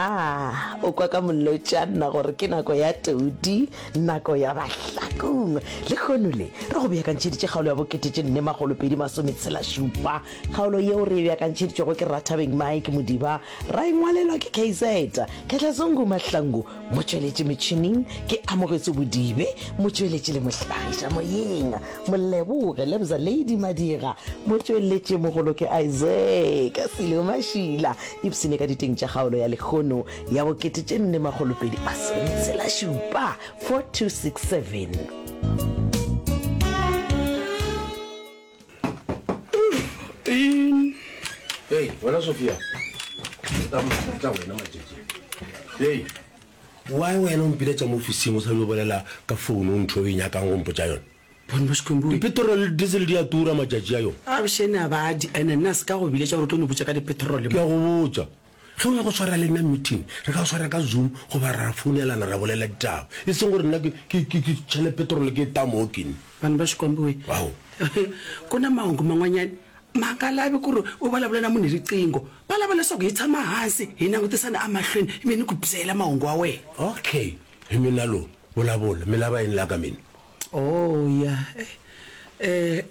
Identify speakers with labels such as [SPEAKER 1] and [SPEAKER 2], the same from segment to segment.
[SPEAKER 1] Aha, o kwa ka molotšana gore ke nako ya todi, nako ya Bahlakong. Lehono le, re go beakantšheditše kgaolo ya bokete tše nne makgolo pedi masometshela šupa. Kgaolo yeo re e beakantšheditšwego ke Rathabeng Mike Modiba, ra e ngwalelwa ke KZ Khehlazungu Mahlangu, motšweletši metšhineng ke Amogetswe Bodibe, motšweletši le mohlagiša moyeng Moleboge Lebza Lady Madira, motšweletši mogolo ke Isaac Silo Mašila. Ipshine ka diteng tša kgaolo ya lehono ya bokete tše nne makgolo pedi masometshela šupa, 4267.
[SPEAKER 2] Hei, wena Sophia. Tla wena matšatši. Hei, why wena o mpiletša mo ofising o sa yo bolela ka phone o ntho e o e nyakang go mpotša yona?
[SPEAKER 3] Bone ba Xikwembu.
[SPEAKER 2] Dipetrole le diesel di a tura matšatši a yo.
[SPEAKER 3] Avuxeni a ba di ene nna se ka go biletša gore o tlo no botša ka dipetrole
[SPEAKER 2] Ke a go botša, ge o ya go swara le nna meeting, re ka swara ka Zoom goba ra founelana ra bolela ditaba. E seng gore nna ke, ke, ke, ke tšhele petrole ke e tamoke nne.
[SPEAKER 3] Vanhu va Xikwembu we.
[SPEAKER 2] Ao.
[SPEAKER 3] Ku na mahungu man'wanyana ma nga lavi ku ri u vulavula na munhu hi riqingho. Va lava leswaku hi tshama hansi hi langutisana emahlweni ivi ni ku byela mahungu wa wena.
[SPEAKER 2] Okay, hi mina lo. Vulavula, mi lava yini la ka mina?
[SPEAKER 3] Oh, ya. Eh,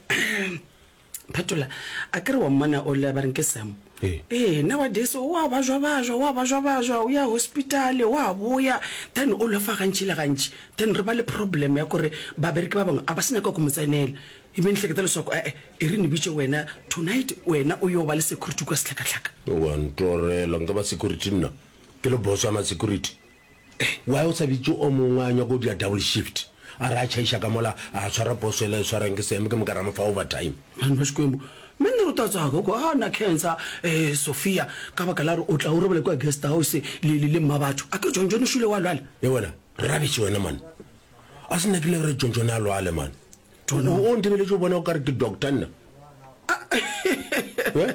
[SPEAKER 3] Phetola, a ke re wa mmona o le ba reng ke Sam?
[SPEAKER 2] Ee.
[SPEAKER 3] Ee, nowadays o a bajwa-bajwa, o a bajwa-bajwa, o ya hospital, o a boya, then o lofa gantši le gantši. Then re ba le problem ya kore babereki ba bangwe a ba sa nyaka go mo tsenela. E be ni hleketa leswaku e-e, e re ni bitše wena tonight, wena o yo ba le security kua sehlakahlaka.
[SPEAKER 2] Wa ntorela, nka ba security nna? Ke le boss wa ma-security? Why o sa bitše o mongwe a nyaka go dira double shift? A re a tšhaiša ka mola a tshwara poso yela e tshwarang ke Sam ke moka ra mo fa overtime.
[SPEAKER 3] Vanhu va Xikwembu, mi ni ri u ta tsaka ku a na khensa eh Sophia ka baka la gore o tla o robala kua guest house le le le mma batho. A ke John John o šwele wa lwala?
[SPEAKER 2] Ye wena, rubbish wena man. A se nna ke le re John John a lwale man. O o ntebeletše o bona o ka re ke doctor nna. Eh?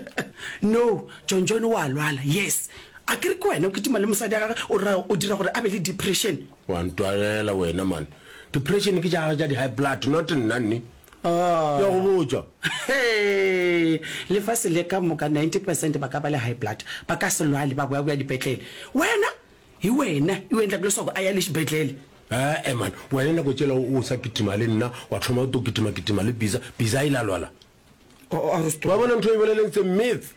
[SPEAKER 3] No, John John o a lwala. Yes. A ke re ke wena o kitima le mosadi ya gagwe o ra o dira gore a be le depression.
[SPEAKER 2] Wa ntwalela wena man. Depression ke tša gagwe tša di high blood not nna nne. Ke a go botša.
[SPEAKER 3] Hee, lefase le ka moka 90 percent ba ka ba le high blood, ba ka se lwale ba boya boya dipetlele. Wena, hi wena i endlaka leswaku a ya le xibedlele.
[SPEAKER 2] Ee man, wena nako tšela o sa kitima le nna, wa thoma o to kitima kitima le Biza, Biza a ile a lwala. Wa bona ntho e boleleng tse myth.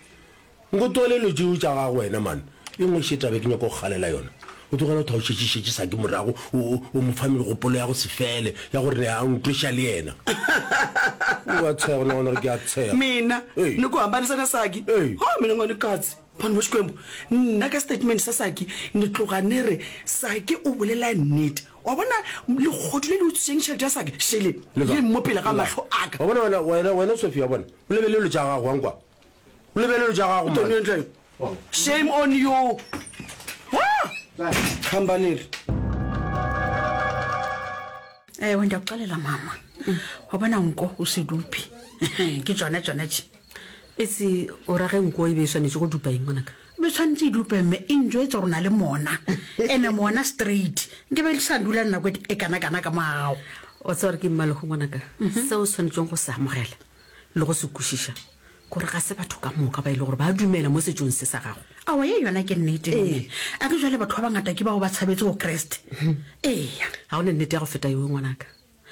[SPEAKER 2] Nko tlogele dilo tšeo tša gago wena man. E nngwe še taba ke nyaka go kgalela yona. O tlogela go tha o šetše šetše Saki morago o o o mo fa megopolo ya go se fele ya gore ne a ntweša le yena. O a tshega o nagana gore ke a tshega.
[SPEAKER 3] Mina
[SPEAKER 2] Ee.
[SPEAKER 3] ni ku hambanisa na Saki?
[SPEAKER 2] Ee.
[SPEAKER 3] Ha mina nga ni katsi. Vanhu va Xikwembu, nna ka statement sa Saki ni tloga ni ri Saki o bolela nnete. Wa bona legodu le le utswitšeng tšhelete ya Saki šele le mo pele ga mahlo a ka.
[SPEAKER 2] Wa bona wena wena wena Sophie wa bona o lebelele dilo tša gago wa nkwa. O lebelele tša gago man.
[SPEAKER 3] Shame on you. Ha! Khambaneri.
[SPEAKER 4] Ewe ndiyakuxelela mama. Wa bona nko o se dupe. Ke tšona tšona tše.
[SPEAKER 5] Etse o ra ge nko e be e swanetše go dupa eng ngwanaka?
[SPEAKER 4] Be tshwanetse e dupe mme e njwetsa gore o na le mona. Ene mona straight. Nke be le sa dula nako e kana kana ka mo ga gago.
[SPEAKER 5] Wa tseba gore ke mmalego ngwanaka? Seo o swanetšeng go se amogela le go se kwešiša gore ga se batho ka moka ba e le gore ba dumela mo setšong se sa gago.
[SPEAKER 4] Aowa, ye yona ke nnete, mme. A ke jwale batho ba bangata ke bao ba tshabetse go Kriste. Eya.
[SPEAKER 5] Ga go na nnete ya go feta yeo, ngwanaka.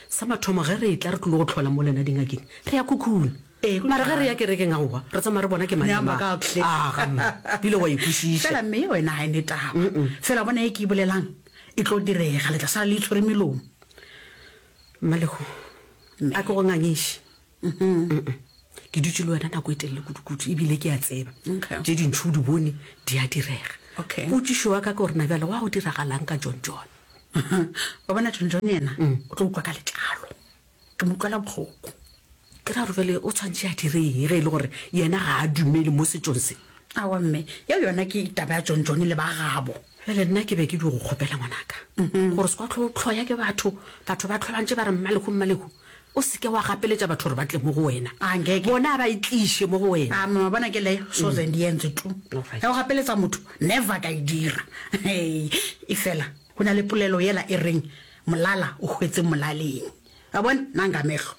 [SPEAKER 5] Sa mathomo, ge re etla re tlilo go hlola mo lena dingakeng, re ya khukhuna. Mara ge re ya kerekeng, aowa, re tsamaya re bona ke mang le mang. Aga, mma, bile wa e kwešiša.
[SPEAKER 4] Fela mme, wena ga e ne taba. Fela bona ye ke e bolelang e tlo direga, le tla sala le itshwere melomo.
[SPEAKER 5] Mmalego, a ke go ngangiše. Mm-mm. Ke dutše le wena nako e telele kudu-kudu, ebile ke a tseba
[SPEAKER 4] Okay.
[SPEAKER 5] tše dintši o di bone di a direga.
[SPEAKER 4] Okay.
[SPEAKER 5] Potšišo ya ka ke gore na bjale gwa go diragalang ka John John?
[SPEAKER 4] Wa bona John John yena o tlo utlwa ka letlalo. Ke mo utlwela bohloko.
[SPEAKER 5] Ke ra gore bjale o tshwanetše a dire eng ge e le gore yena ga a dumele mo setšong se?
[SPEAKER 4] Aowa mme, yeo yona ke taba ya John John le ba gabo.
[SPEAKER 5] Bjale nna ke be ke dio go kgopela ngwanaka gore se kwa hlwe o hloya ke batho, batho ba hlwe ba ntše ba re Mmalehu, Mmalehu. O se ke wa gapeletša batho gore ba tle mo go wena.
[SPEAKER 4] A nkeke.
[SPEAKER 5] Bona a ba e tliše mo go wena.
[SPEAKER 4] A mama bona ke leyo soze ndi yenze tu.
[SPEAKER 5] Alright.
[SPEAKER 4] Ya go gapeletsa motho never ka e dira. Hei, efela go na le polelo yela e reng molala o hwetse molaleng. Wa bona, nna nka mehlo.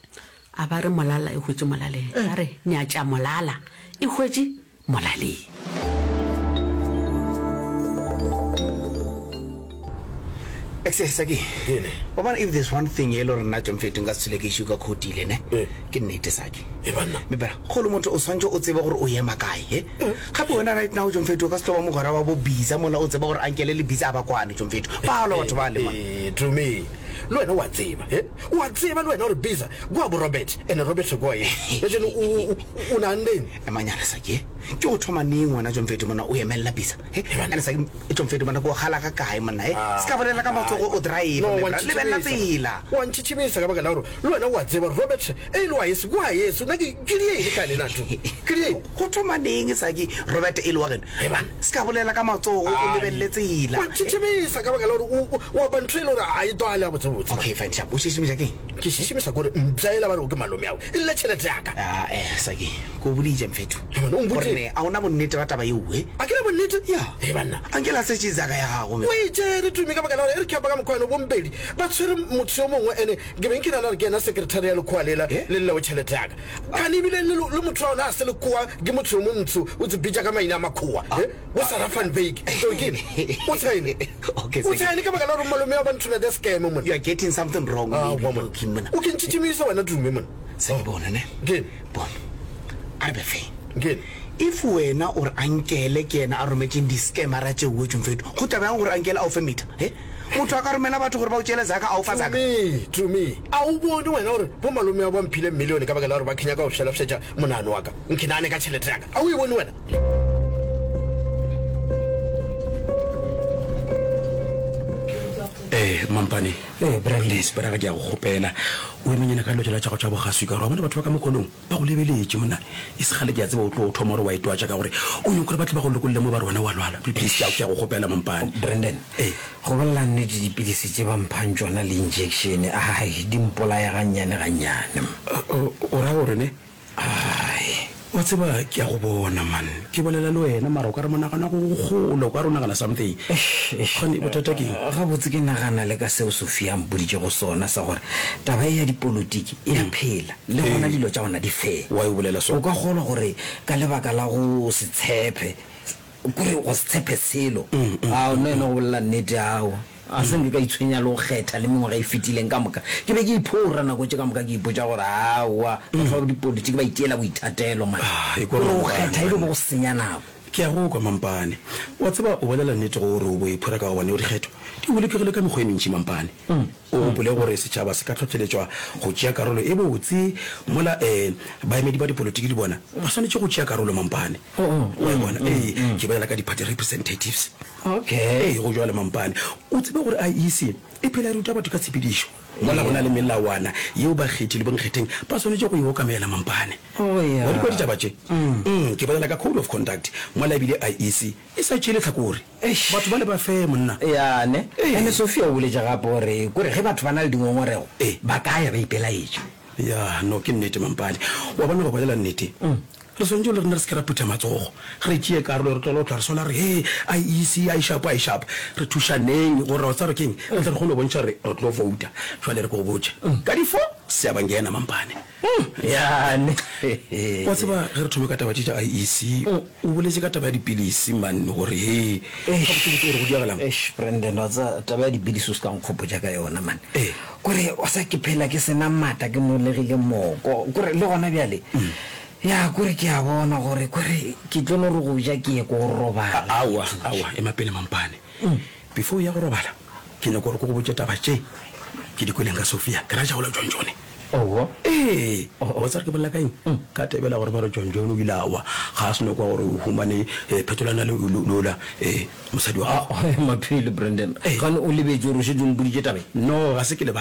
[SPEAKER 5] A ba re molala e hwetše molaleng. Ba re nyatša molala e hwetše molaleng.
[SPEAKER 3] Saki, wa bona if there's one thing e le gore nna Jomfetu nka se tswele ke issue ka khotile ne
[SPEAKER 2] Eh.
[SPEAKER 3] ke nnete Saki.
[SPEAKER 2] E banna.
[SPEAKER 3] Me bra, golo motho o swantse o tsebe gore o ema kae he. Gape wena right now Jomfetu o ka se tlo ba mogwera wa bo Biza mola o tseba gore Ankele le Biza a ba kwane Jomfetu. Ba lwa batho bale man.
[SPEAKER 2] Eh, Tumi, le wena o a tseba he o a tseba le wena gore Biza kwa bo Robert ene Robert kwa ye. Bjale o o o naanneng?
[SPEAKER 3] Emanyana Saki, ke go thoma neng wena Jomfetu mona o emelela Biza? He, ene Saki Tšomfedi monna ko gala ga kae monna he se ka bolela ka matsogo o drive
[SPEAKER 2] No,
[SPEAKER 3] my
[SPEAKER 2] wa
[SPEAKER 3] bra lebelela
[SPEAKER 2] ntšhitšhibisa.
[SPEAKER 3] tsela.
[SPEAKER 2] Wa ntšhitšhibisa ka baka la gore le wena o a tseba gore Robert e le wa yeso ke wa yeso nna ke ke diele ka lena tu ke diele.
[SPEAKER 3] Go thoma neng Saki Robert e le wa geno
[SPEAKER 2] He banna.
[SPEAKER 3] se ka bolela ka matsogo o lebelele tsela.
[SPEAKER 2] Wa ntšhitšhibisa ka baka la gore o o o apa ntho e le gore ga e twale gabotsebotse.
[SPEAKER 3] Okay fine sharp o šišimiša keng?
[SPEAKER 2] Ke šišimiša kore mpša ela ba rego ke malome ao e lle tšhelete ya ka.
[SPEAKER 3] Ah eh Saki ke o boditše mfetho
[SPEAKER 2] He banna o
[SPEAKER 3] gore
[SPEAKER 2] mpoditše.
[SPEAKER 3] ne a o na bonnete ba taba yeo he.
[SPEAKER 2] A ke na bonnete?
[SPEAKER 3] Ya.
[SPEAKER 2] He banna.
[SPEAKER 3] Anke la setše zaka ya gago me.
[SPEAKER 2] O e tšere Tumi ka baka la gore e re ke apa ka mokgwa eno bompedi ba tshwere motho yo mongwe ene ke beng ke nana gore ke yena secretary ya lekgowa lela le llego tšhelete ya ka. Kane ebile le le motho wa ona a se lekgowa ke motho yo montsho o tse bitša ka maina a makgowa he bo Sarah van Wyk. So ke eng? O tshene.
[SPEAKER 3] Okay,
[SPEAKER 2] O tshene ka baka la gore malome wa ba nthomela the scam monna.
[SPEAKER 3] You are getting something wrong
[SPEAKER 2] Ah,
[SPEAKER 3] maybe
[SPEAKER 2] wa monna.
[SPEAKER 3] Moki monna.
[SPEAKER 2] O ke ntšhitšhimisa wena Tumi monna.
[SPEAKER 3] Se ke bone ne.
[SPEAKER 2] Ke eng?
[SPEAKER 3] Bona. A re be fair.
[SPEAKER 2] Ke eng?
[SPEAKER 3] If wena o re Ankele ke yena a rometšeng di-scamera tšeo Tšomfeto, go tla bjang gore Ankele a o fe meter? He? Motho a ka romela batho gore ba o tšeele zaka a o fa zaka?
[SPEAKER 2] Tumi, Tumi, a o bone wena gore bo malome ba ba mphile millione ka baka la gore ba ke nyaka go fšelafšetša monagano wa ka, nke nagane ka tšhelete ya ka? A o e bone wena?
[SPEAKER 3] Eh, Mampane. Eh, Please, bra, ke a go kgopela. O emenyana ka dilo tšela tša gago tša bogaswi ka gore wa bona batho ba ka mokgonong. Ba go lebeletše monna, e se kgale ke a tseba o tlo thoma gore wa itwatša ka gore o nyaka gore ba tle ba go lokolle mo ba re wena wa lwala. Please ke a, ke a go kgopela Mampane.
[SPEAKER 6] Brandon,
[SPEAKER 3] Ee.
[SPEAKER 6] Go bolela nnete dipilisi tše ba mphang tšona le injection, ai, di mpolaya gannyane gannyane.
[SPEAKER 3] O, o ra gore ne?
[SPEAKER 6] Ai.
[SPEAKER 3] Wa tseba ke a go bona man, ke bolela le wena mara o ka re monagano wa gago o kgole, o ka re o nagana something.
[SPEAKER 6] Eish, eish.
[SPEAKER 3] Kgane bothata ke eng?
[SPEAKER 6] Gabotse ke nagana le ka seo Sophia a mpoditšego sona sa gore taba ye ya dipolotiki e a phela. Le gona dilo tša gona di fair.
[SPEAKER 3] Why o bolela so?
[SPEAKER 6] O ka kgolwa gore ka lebaka la go se tshepe, kore go se tshepe selo, ao, nna ena go bolela nnete, aowa, ga se nke ka itshwenya le go kgetha le mengwaga e fetileng ka moka. Ke be ke iphora nako tše ka moka ke ipotša gore aowa, batho ba dipolitiki ba itiela boithatelo man.
[SPEAKER 3] Ah, e kwa
[SPEAKER 6] Kore go
[SPEAKER 3] Mampane,
[SPEAKER 6] kgetha e be
[SPEAKER 3] banna.
[SPEAKER 6] go senya nako.
[SPEAKER 3] Ke a go kwa Mampane. Wa tseba o bolela nnete gore o bo iphora ka gobane dikgetho di bolokegile ka mekgwa e mentši Mampane. O gopole gore setšhaba se ka hlohleletšwa go tšea karolo e botse mola um baemedi ba dipolotiki le bona ba swanetše go tšea karolo Mampane. O e bona? Ee, ke bolela ka di-party representatives.
[SPEAKER 6] Okay.
[SPEAKER 3] Ee, go bjalo Mampane. O tsebe gore IEC e phela e ruta batho ka tshepedišo mola go na le melawana yeo bakgethi le bonkgetheng ba swanetše go e okamela Mampane.
[SPEAKER 6] Oh, yeah.
[SPEAKER 3] Wa di kwa ditaba tše? Mm, ke bolela ka code of conduct mola ebile IEC e sa tšee lehlakore.
[SPEAKER 6] Eish.
[SPEAKER 3] Batho bale ba fair monna.
[SPEAKER 6] Ya ne.
[SPEAKER 3] Ee.
[SPEAKER 6] Ene Sophia o boletše gape gore kore ge batho ba na le dingongorego
[SPEAKER 3] Ee.
[SPEAKER 6] ba ka ya ba ipelaetša.
[SPEAKER 3] Ya, no ke nnete Mampane. Wa bona go bolela nnete. Re swanetše le rena re se ke ra phutha matsogo. Re tšee karolo re tlogele go hlwa re sola re he IEC a e shapo a e shapo. Re thušaneng gore wa tseba gore keng re tle re kgone go bontšha gore re tlo vouta. Jwale re ke go botše. Ka di four Siyabangena Mampane.
[SPEAKER 6] Ya ne.
[SPEAKER 3] Wa tseba ge re thome ka taba tše tša IEC, o boletše ka taba ya dipilisi man gore he gabotsebotse gore go diagalang.
[SPEAKER 6] Eish Brandon wa tseba taba ya dipilisi o se ka nkgopotša ka yona man.
[SPEAKER 3] Ee.
[SPEAKER 6] Kore wa tseba ke phela ke sena maatla ke nolegile moko kore le gona bjale ya kore ke a bona gore kore ke tlo no re go ja ke ye ko robala.
[SPEAKER 3] Aowa aowa ema pele Mampane. Before o ya go robala ke nyaka gore ke go botše taba tše ke di kweleng ka Sophia ke ra jagola John John.
[SPEAKER 6] Oho.
[SPEAKER 3] Ee, wa tseba ke bolela ka eng? Ka tebela gore ba re John John o ile a wa, ga a se no kwa gore o humane phetolwana le lola mosadi wa gagwe.
[SPEAKER 6] Maphele, Brandon,
[SPEAKER 3] Ee.
[SPEAKER 6] gane o lebetše gore o šetše o mpoditše taba ye?
[SPEAKER 3] No, ga se ke lebale.